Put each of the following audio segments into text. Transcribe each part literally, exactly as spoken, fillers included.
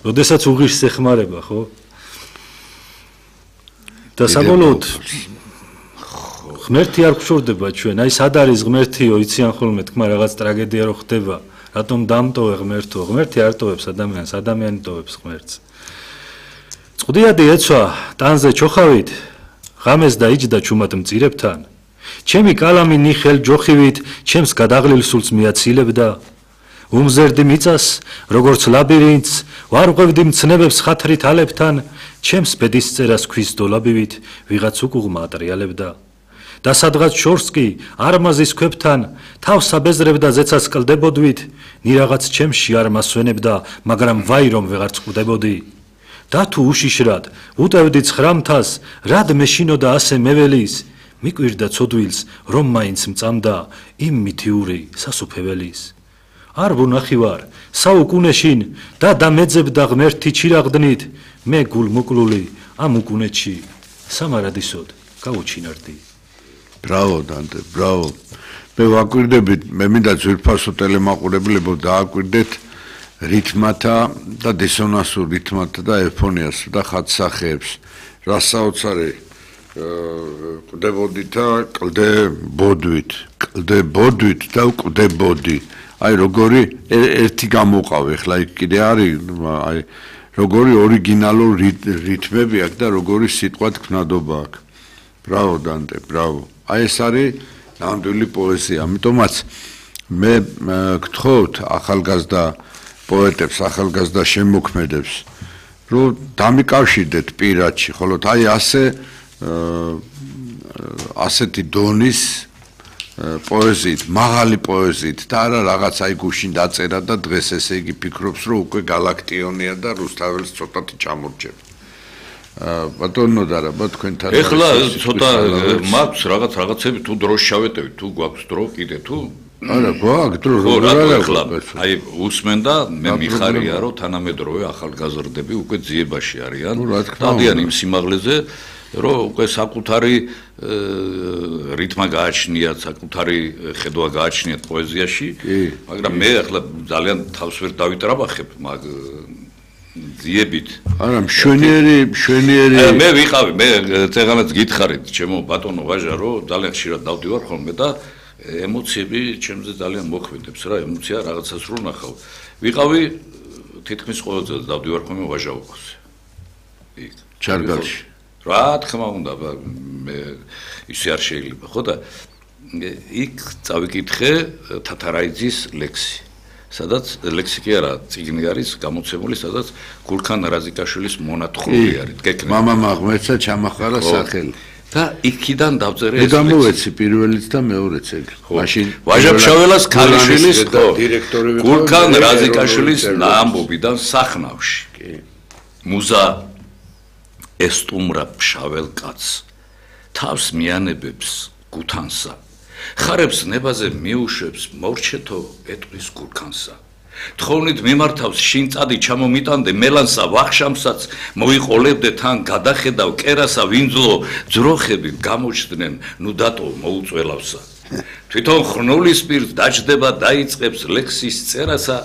როდესაც უღირს ეხმარება, ხო? და საბოლოოდ ღმერთი არ გშორდება ჩვენ. აი სად არის ღმერთიო, იციან ხოლმე თქმა რაღაც ტრაგედია რო ხდება. რატომ დამტოვე ღმერთო? ღმერთი არ ტოვებს ადამიანს, ადამიანი ტოვებს ღმერთს. წყდიადი ეცვა ტანზე ჩოხავით, ღამეს დაიჯდა ჩუმად მწირებთან. ჩემი კალამი ნიხელ ჯოხივით, ჩემს გადაღლილ სულს მიაცილებდა. უმზერდი მიწას, როგორც ლაბირინთს, ვარღვევდი მცნებებს ხათრით ალებთან, ჩემს ბედის წერას ქვის დოლაბივით, ვიღაც უკუღმა ატრიალებდა. და სადღაც შორს კი არმაზის ქვებთან თავს აბეზრებდა ზეცას კლდებოდვით, ნირაღაც ჩემში არ მასვენებდა, მაგრამ ვაი რომ ვეღარ წყდებოდი. და თუ უშიშრად უტევდი ცხრამთას, რად მეშინოდა ასე მეველის, მიკვირდა ცოდვილს, რომ მაინც მწამდა იმ მითიური სასუფეველის. არ ვუნახი ვარ საუკუნეშინ და დამეძებდა ღმერთი ჩირაღდნით, მე გულმოკლული ამ უკუნეთში სამარადისოდ გაუჩინარდი. Bravo, Dante, bravo. მე ვაკვირდებით, მე მინდა ძვირფასო ტელემაყურებლებო დააკვირდეთ რითმათა და დისონანსურ რითმათა და ეფონიას და ხატსახეებს. რა საოცარი ყდებოდით და კლდებოდვით, კლდებოდვით და ყდებოდი. აი როგორი ერთი გამოყავი, ხლა იქ კიდე არის, აი როგორი ორიგინალურ რითმები აქვს და როგორი სიტყვა თქმნადობა აქვს. Bravo, Dante, bravo. აი ეს არის ნამდვილი პოეზია. ამიტომაც მე გთხოვთ ახალგაზრდა პოეტებს, ახალგაზრდა შემოქმედებს, რომ დამიკავშირდეთ პირადში, ხოლოდ აი ასე ასეთი დონის პოეზიით, მაღალი პოეზიით და არა რაღაც აი გუშინ დაწერა და დღეს ესე იგი ფიქრობს, რომ უკვე galaktionia და რუსთაველს ცოტათი ჩამორჩება. ბატონო და რა თქვენთან ეხლა ცოტა მაქვს რაღაც რაღაცები თუ დროს შავეტევით, თუ გვაქვს დრო კიდე თუ არა გვაქვს დრო რა აი უსმენდა მე მიხარია რომ თანამედროვე ახალგაზრდები უკვე ძიებაში არიან დადიან იმ სიმაღლეზე რომ უკვე საკუთარი რითმა გააჩნიათ, საკუთარი ხედვა გააჩნიათ პოეზიაში, მაგრამ მე ახლა ძალიან თავს ვერ დავიტრაბახებ მაგ ძიებით. არა, მშვენიერი, მშვენიერი. მე ვიყავი, მე წეგანაც გითხარით, ჩემო ბატონო ვაჟა, რომ ძალიან ხშირად დავდივარ ხოლმე და ემოციები ჩემზე ძალიან მოქმედებს რა, ემოცია რაღაცას რო ნახავ. ვიყავი თითქმის ყოველ წელს დავდივარ ხოლმე ვაჟაობაზე. იქ ჩარგალში. რა თქმა უნდა, მე ისე არ შეიძლება, ხო და იქ წავიკითხე თათარაიძის ლექსი. სადაც ლექსიკი არა, წიგნი არის გამოცემული, სადაც გულქან რაზიკაშვილის მონათხრობი არის. გეკნე. მამამ აღმერთსა ჩამახარა სახელი. და იქიდან დავწერე ეს ლექსი. გამოვეცი პირველიც და მეორეც ეგ. მაშინ ვაჟა-ფშაველას ქალიშვილის დირექტორი გულქან რაზიკაშვილის ამბობიდან სახნავში. კი. მუზა ესტუმრა ფშაվել კაცს, თავს მიანებებს გუთანსა. ხარებს ნებაზე მიუშვებს მორჩეთო ეტყვის გულქანსა. თხოვნით მიმართავს შინწადი ჩამომიტანდე მელანსა ვახშამსაც მოიყოლებდე თან გადახედავ კერასა ვინძლო ძროხები გამოჩდნენ ნუ დატო მოუწველავსა. თვითონ ხრნულის პირს დაჯდება დაიწყებს ლექსის წერასა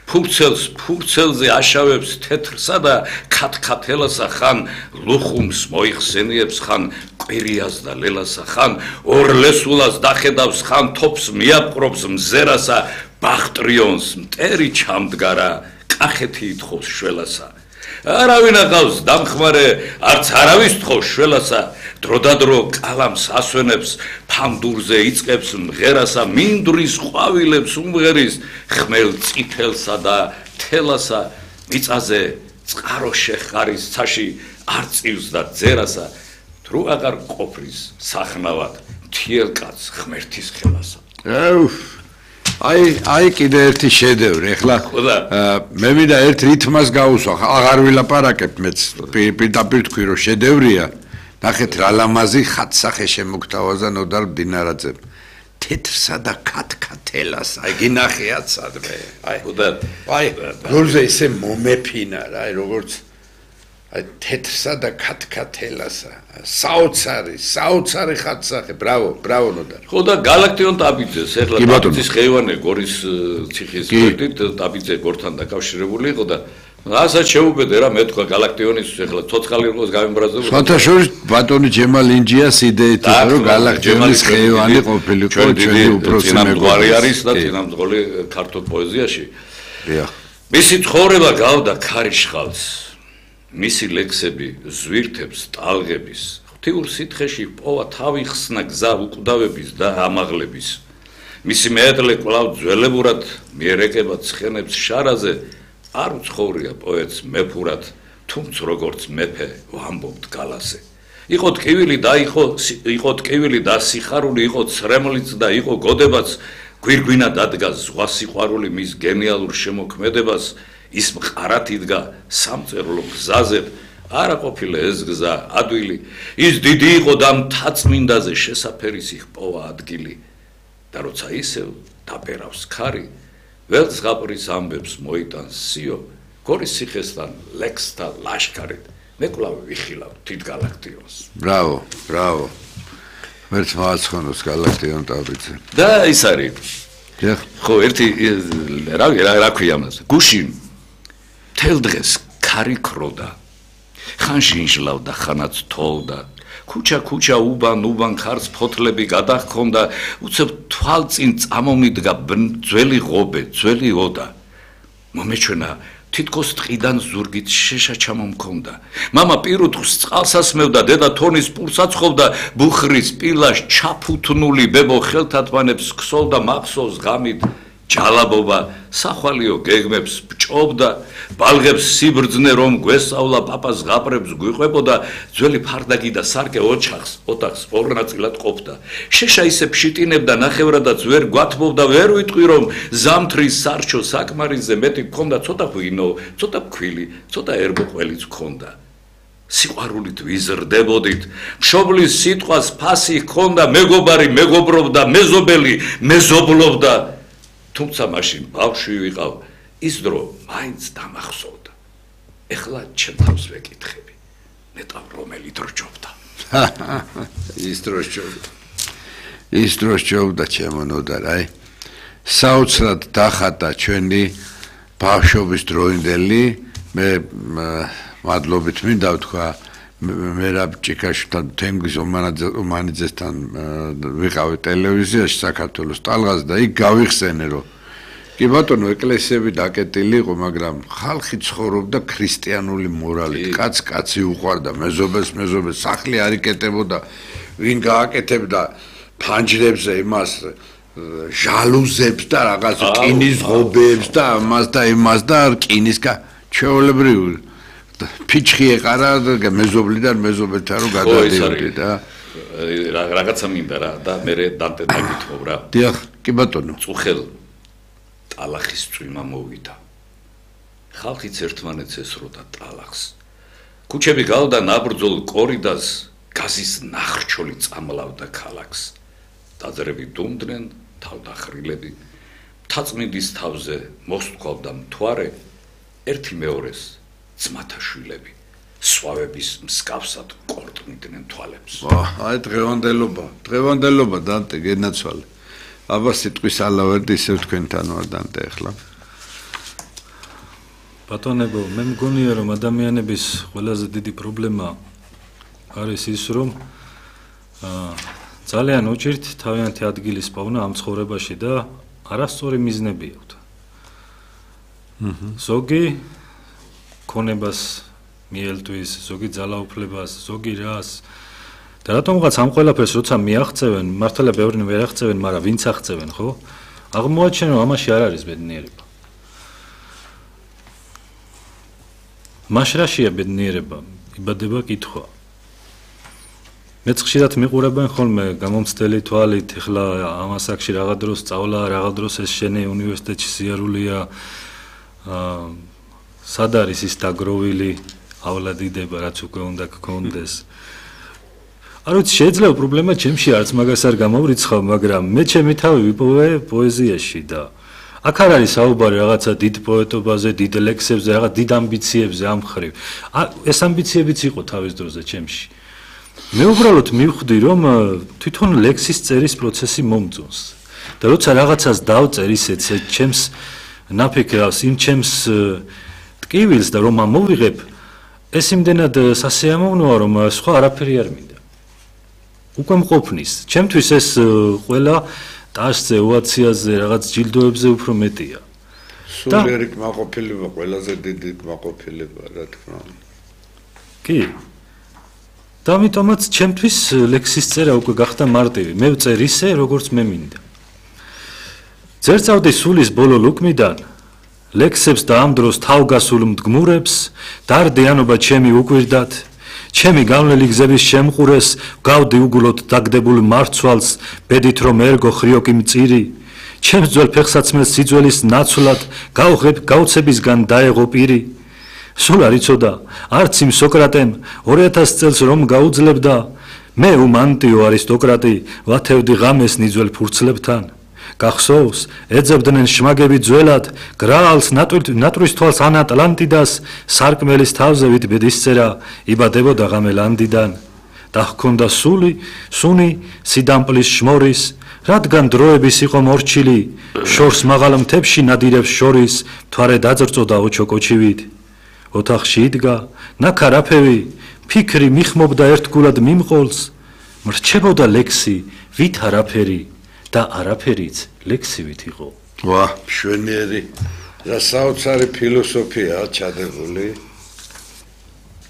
ფურცელს ფურცელზე აშავებს თეთრსა და ქათქათელასა ხან ლუხუმს მოიხსენიებს ხან კვირიას და ლელასა ხან ორლესულას დახედავს ხან თოფს მიაპყრობს მზერასა ბახტრიონს მტერი ჩამდგარა კახეთი ითხოვს შველასა არავინ აღავს დამხმარე არც არავის თხოვს შველასა დროდადრო კალამს ასვენებს ფამდურზე იწყებს მღერასა მინდვრის ყვავილებს უმღერის ხმელ წითელსა და თელასა მიწაზე წყარო შეხარის ცაში არ წივს და ძერასა თუ აღარ ყოფრის სახნავად მთიელკაც ღმერთის ხელასა აუ აი აი კიდე ერთი შედევრი ეხლა მე მინდა ერთ რითმას გაუსვა აღარ ვილაპარაკებ მეც პირდაპირ თქვი რომ შედევრია ნახეთ რა ლამაზი ხატსახე შემოგთავაზა ნოდარ მდინარაძემ თეთრსა და ქათქათელას აი გინახიათ სადმე აი აი გულზე ისე მომეფინა რა აი როგორც აი თეთრსა და ქათქათელასა საოცარი საოცარი ხატსახე ბრავო ბრავო ნოდარ ხო და galaktion ტაბიძეს ეხლა ტაბიძის ხეივანე გორის ციხის გვერდით ტაბიძე გორთან დაკავშირებული იყო და რასაც შეუბედე რა მე თქვა galaktionis ეხლა ცოცხალი იყოს გამემბრაზებული. სხვათაშორის ბატონი ჯემალ ინჯიას იდეით იყო რომ galaktionis ხეივანი ყოფილიყო ჩვენი უფროსი მეგობარი არის და წინამძღოლი ქართულ პოეზიაში. დიახ. მისი ცხოვრება გავდა ქარიშხალს. მისი ლექსები ზვირთებს ტალღების ღვთიურ სითხეში პოვა თავი ხსნა გზა უკვდავების და ამაღლების. მისი მეეტლე კვლავ ძველებურად მიერეკება ცხენებს შარაზე არ უცხოვრია პოეტს მეფურად, თუმც როგორც მეფე ვამბობთ გალაზე. იყო ტკივილი და იყო იყო ტკივილი და სიხარული, იყო ცრემლიც და იყო გოდებაც, გვირგვინა დადგა ზღვა სიყვარული მის გენიალურ შემოქმედებას, ის მყარად იდგა სამწერლო გზაზე, არა ყოფილა ეს გზა ადვილი, ის დიდი იყო და მთაწმინდაზე შესაფერის იხპოვა ადგილი. და როცა ისევ დაბერავს ქარი, ველს ზღაპრის ამბებს მოიტანს სიო, გორის ციხესთან ლექსთა ლაშქარით, მე კვლავ ვიხილავ თით galaktions. ბრავო, ბრავო. მერც მააცხონოს galaktion ტაბიძე. და ის არის. დიახ. ხო, ერთი რა რა ქვია მას? გუშინ თელ დღეს ქარი ქროდა. ხან ჟინჟლავდა, ხანაც თოლდა. ქუჩა ქუჩა უბან უბან ხარს ფოთლები გადახონდა, უცებ თვალწინ წამომიდგა ძველი ღობე, ძველი ოდა. მომეჩვენა თითქოს ტყიდან ზურგით შეშა ჩამომქონდა. მამა პირუტყს წყალს ასმევდა, დედა თონის პურს აცხობდა, ბუხრის პილას ჩაფუთნული ბებო ხელთათმანებს ქსოლდა მახსოვს ღამით. ჯალაბობა სახვალიო გეგმებს ბჭობდა, ბალღებს სიბრძნე რომ გვესწავლა პაპას ღაპრებს გვიყვებოდა, ძველი ფარდაგი და სარკე ოჩახს, ოთახს ორ ნაწილად ყოფდა. შეშა ისე ფშიტინებდა ნახევრადაც ვერ გვათმობდა, ვერ ვიტყვი რომ ზამთრის სარჩო საკმარისზე მეტი გქონდა, ცოტა ღვინო, ცოტა ფქვილი, ცოტა ერბო ყველიც გქონდა. სიყვარულით ვიზრდებოდით, მშობლის სიტყვას ფასი ჰქონდა, მეგობარი მეგობრობდა, მეზობელი მეზობლობდა. თუმცა მაშინ ბავშვი ვიყავ, ის დრო მაინც დამახსოვდა. ეხლა ჩემ თავს ვეკითხები, ნეტავ რომელი დრო ჯობდა. ის დრო ჯობდა. ის დრო ჯობდა ჩემო ნოდარ, აი. საოცრად დახატა ჩვენი ბავშვობის დროინდელი, მე მადლობით მინდა ვთქვა მერაბ ჭიქაშვილთან, თენგიზ ომანიძესთან ვიყავი ტელევიზიაში საქართველოს ტალღაზე და იქ გავიხსენე რომ კი ბატონო ეკლესიები დაკეტილი იყო, მაგრამ ხალხი ცხოვრობდა ქრისტიანული მორალით, კაც კაცი უყვარდა, მეზობელს მეზობელს, სახლი არ იკეტებოდა, ვინ გააკეთებდა ფანჯრებზე იმას ჟალუზებს და რაღაც რკინის ღობეებს და ამას და იმას და რკინის ჩვეულებრივი ფიჩხი ეყარა მეზობლიდან მეზობელთან რომ გადადიოდი და რაღაცა მინდა რა და მე დანტე დაგითხოვ რა. დიახ, კი ბატონო. წუხელ ტალახის წვიმა მოვიდა. ხალხიც ერთმანეთს ესროდა ტალახს. ქუჩები გავდა ნაბრძოლ კორიდას, გაზის ნახრჩოლი წამლავდა ქალაქს. დაძრები დუმდნენ, თავდახრილები. მთაწმინდის თავზე მოსთქვავდა მთვარე, ერთი მეორეს ძმათა შვილები, სვავების მსგავსად კორტმიდნენ თვალებს. აი დღევანდელობა, დღევანდელობა დანტე გენაცვალე. აბა სიტყვის ალავერდი ისევ თქვენთან ვარ დანტე ახლა. ბატონებო, მე მგონია რომ ადამიანების ყველაზე დიდი პრობლემა არის ის რომ აა ძალიან უჭირთ თავიანთი ადგილის პოვნა ამ ცხოვრებაში და არასწორი მიზნები აქვთ. ზოგი ქონებას მიელთვის, ზოგი ძალაუფლებას, ზოგი რას და რატომღაც ამ ყველაფერს როცა მიაღწევენ, მართლა ბევრნი ვერ აღწევენ, მაგრამ ვინც აღწევენ, ხო? აღმოაჩენ რომ ამაში არ არის ბედნიერება. მაშრაშია ბედნიერება, იბადება კითხვა. მეც ხშირად მიყურებენ ხოლმე გამომცდელი თვალით, ეხლა ამ ასაკში რაღაც დროს სწავლა, რაღაც დროს ეს შენი უნივერსიტეტში სიარულია, აა სად არის ის დაგროვილიავლადიდება, რაც უკვე უნდა გქონდეს. არ ვიცი, შეიძლება პრობლემა ჩემში არც მაგას არ გამოვრიცხავ, მაგრამ მე ჩემი თავი ვიპოვე პოეზიაში და აქ არ არის საუბარი რაღაცა დიდ პოეტობაზე, დიდ ლექსებზე, რაღაც დიდ ამბიციებზე ამ ხრივ. ეს ამბიციებიც იყო თავის დროზე ჩემში. მე უბრალოდ მივხვდი, რომ თვითონ ლექსის წერის პროცესი მომწონს. და როცა რაღაცას დავწერ ისეთ ჩემს ნაფიქრავს, იმ ჩემს ტკივილს და რომ ამოვიღებ, ეს იმდენად სასიამოვნოა, რომ სხვა არაფერი არ მინდა. უკვე მყოფნის. ჩემთვის ეს ყველა ტაშზე, ოვაციაზე, რაღაც ჯილდოებზე უფრო მეტია. სულიერი კმაყოფილება, ყველაზე დიდი კმაყოფილება, რა თქმა უნდა. კი. და ამიტომაც ჩემთვის ლექსის წერა უკვე გახდა მარტივი. მე ვწერ ისე, როგორც მე მინდა. ძერწავდი სულის ბოლო ლუკმიდან, ლექსებს და ამ დროს თავგასულ მდგმურებს, დარდიანობა ჩემი უკვირდათ, ჩემი გავლელი გზების შემყურეს, გავდი უგულოდ დაგდებულ მარცვალს, ბედით რომ ერგო ხრიოკი მწირი, ჩემს ძველ ფეხსაცმელს სიძველის ნაცვლად, გავღებ გაუცებისგან დაეღო პირი. სულ არ იცოდა, არც იმ სოკრატემ ორი ათას წელს რომ გაუძლებდა, მე უმანტიო არისტოკრატი, ვათევდი ღამეს ნიძველ ფურცლებთან. გახსოვს, ეძებდნენ შმაგები ძველად, გრაალს ნატვრის თვალს ან ატლანტიდას, სარკმელის თავზე ვით ბედისწერა, იბადებოდა ღამელანდიდან. და ჰქონდა სული, სუნი, სიდამპლის შმორის, რადგან დროების იყო მორჩილი, შორს მაღალ მთებში ნადირებს შორის, მთვარე დაძრწოდა ოჩოკოჩივით. ოთახში იდგა, ნაქარაფევი, ფიქრი მიხმობდა ერთგულად მიმყოლს, მრჩებოდა ლექსი, ვით არაფერი. და არაფერიც ლექსივით იყო. ვა, მშვენიერი და საოცარი ფილოსოფიაა ჩადებული.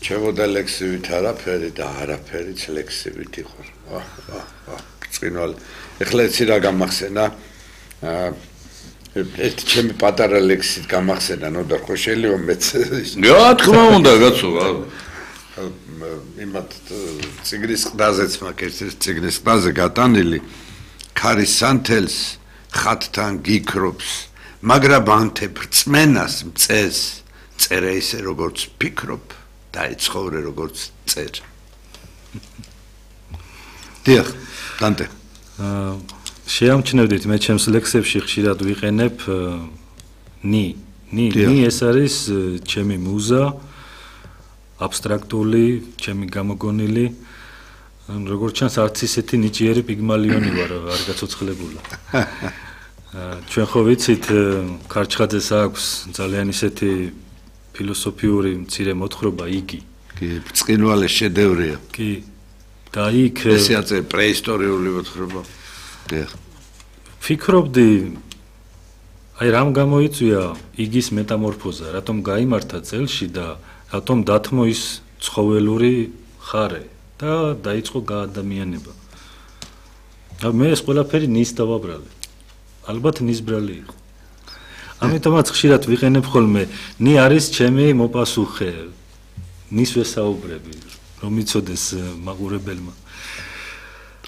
ჩემოდა ლექსივით არაფერი და არაფერიც ლექსივით იყო. ვა, ვა, ვა, წინვალ. ეხლა ეცი რა გამახსენა? აა ერთი ჩემი პატარა ლექსით გამახსენა, ნოდარ ხო შეიძლება მეც. რა თქმა უნდა, კაცო. იმათ ციგნის ყდაზეც მაქვს ერთ ციგნის ყდაზე გატანილი. ქარის სანთელს ხათთან გიქრობს, მაგრამ ანთებ რწმენას მწეს, წერე ისე როგორც ფიქრობ და ეცხოვრე როგორც წერ. დიახ, დანტე. აა შეამჩნევდით მე ჩემს ლექსებში ხშირად ვიყენებ ნი. ნი, ნი ეს არის ჩემი მუზა, აბსტრაქტული, ჩემი გამოგონილი. როგორც ჩანს არც ისეთი ნიჭიერი პიგმალიონი ვარ, არ გაცოცხლებულა. ჩვენ ხო ვიცით, ქარჩხაძეს აქვს ძალიან ისეთი ფილოსოფიური მცირე მოთხრობა იგი. კი, ბრწყინვალე შედევრია. კი. და იქ ესე აწერ პრეისტორიული მოთხრობა. დიახ. ფიქრობდი, აი რამ გამოიწვია იგის მეტამორფოზა, რატომ გაიმართა წელში და რატომ დათმო ის ცხოველური ხარე. და დაიწყო გაადამიანება. მე ეს ყველაფერი ნის დავაბრალე. ალბათ ნის ბრალი იყო. ამიტომაც ხშირად ვიყენებ ხოლმე, ნი არის ჩემი მოპასუხე. ნის ვესაუბრები, რომ იცოდეს მაყურებელმა.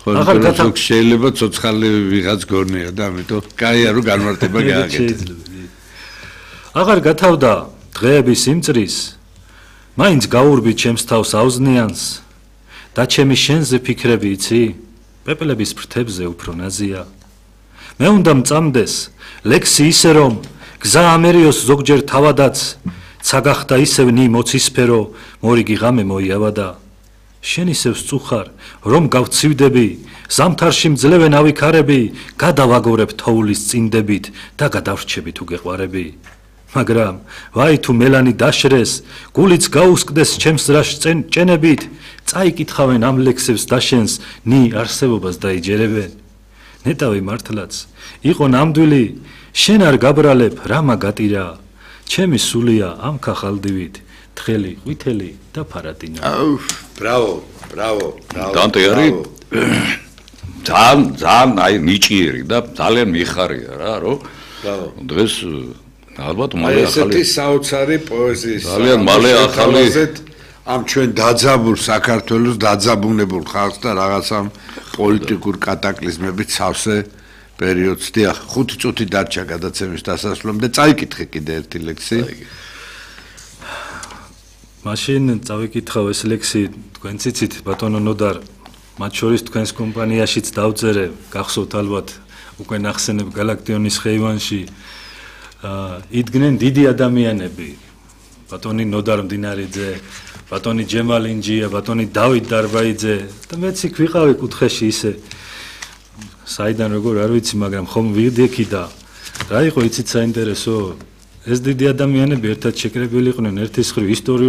ახლა შეიძლება ცოცხალი ვიღაც გორნია და ამიტომ კაია რომ განმარტება გააკეთე. აღარ გათავდა დღეების იმწრის, მაინც გაურბი ჩემს თავს აუზნიანს. და ჩემი შენზე ფიქრები იცი, პეპლების ფრთებზე უფრო ნაზია. მე უნდა მწამდეს, ლექსი ისე რომ, გზა ამერიოს ზოგჯერ თავადაც, ცაგახდა ისევ ნი მოცისფერო, მორიგი ღამე მოიავადა. შენ ისევ სწუხარ, რომ გავცივდები, ზამთარში მძლევენ ავიქარები, გადავაგორებ თოვლის წინდებით და გადავრჩები თუ გეყვარები. მაგრამ, ვაი თუ მელანი დაშრეს, გულიც გაუსკდეს ჩემს რაშ ჭენებით, წაიკითხავენ ამ ლექსებს დაშენს, ნი არსებობას დაიჯერებენ. ნეტავი მართლაც, იყო ნამდვილი, შენ არ გაბრალებ, რამა გატირა, ჩემი სულია ამ ქახალდივით, თხელი, ყვითელი და ფარატინა. აუ, ბრავო, ბრავო, ბრავო. დანტე არის ძალიან, ძალიან აი ნიჭიერი და ძალიან მიხარია რა, რომ ბრავო. დღეს ალბათ მალე ახალი ესეთი საოცარი პოეზიის ძალიან მალე ახალი ამ ჩვენ დაძაბულ საქართველოს დაძაბუნებულ ხალხს და რაღაცამ პოლიტიკურ კატაკლიზმებით სავსე პერიოდს. დიახ, ხუთი წუთი დარჩა გადაცემის დასასრულამდე. წაიკითხე კიდე ერთი ლექსი. მაშინ წავიკითხავ ეს ლექსი, თქვენ ციცით, ბატონო ნოდარ, მათ შორის თქვენს კომპანიაშიც დავწერე, გახსოვთ ალბათ, უკვე ნახსენებ გალაქტიონის ხეივანში. იდგნენ დიდი ადამიანები, ბატონი ნოდარ მდინარიძე, ბატონი ჯემალინჯია, ბატონი დავით დარბაიძე და მეც იქ ვიყავი კუთხეში ისე საიდან როგორ არ ვიცი, მაგრამ ხომ ვიდექი და რა იყო იცით საინტერესო, ეს დიდი ადამიანები ერთად შეკრებილი იყვნენ ერთის მხრივ ისტორიულ